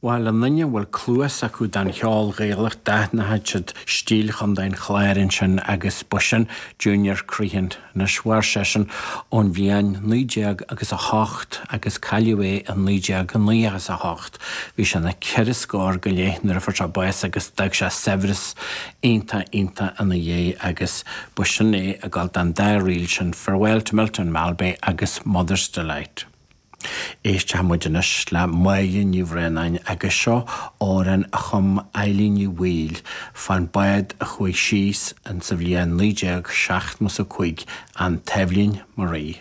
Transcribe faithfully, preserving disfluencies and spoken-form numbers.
Bhuel aon duine a bhfuil cluas acu don cheol Gaelach d'aithneodh siad stíl Chontae an Chláir ansin agus b'shin Junior Crehan anois mhair seisean ón bhliain naoi déag agus a hocht agus cailleadh é i naoi déag naoi is a hocht. Bhí sé na ceithre scór go leith nuair a fuair sé bás agus d'fhág sé saibhreas iontach iontach ina dhiaidh agus b'shin é ag gabháil don dá ríl sin Farewell to Milton Malbay agus Mother's Delight. Éistfidh muid anois le Máire Ní Bhraonáin agus seo amhrán a chum Eilín Ní Bhaoill fán bád a chuaigh síos in sa bhliain naoi déag seachtó a cúig an Taibhlín Marie.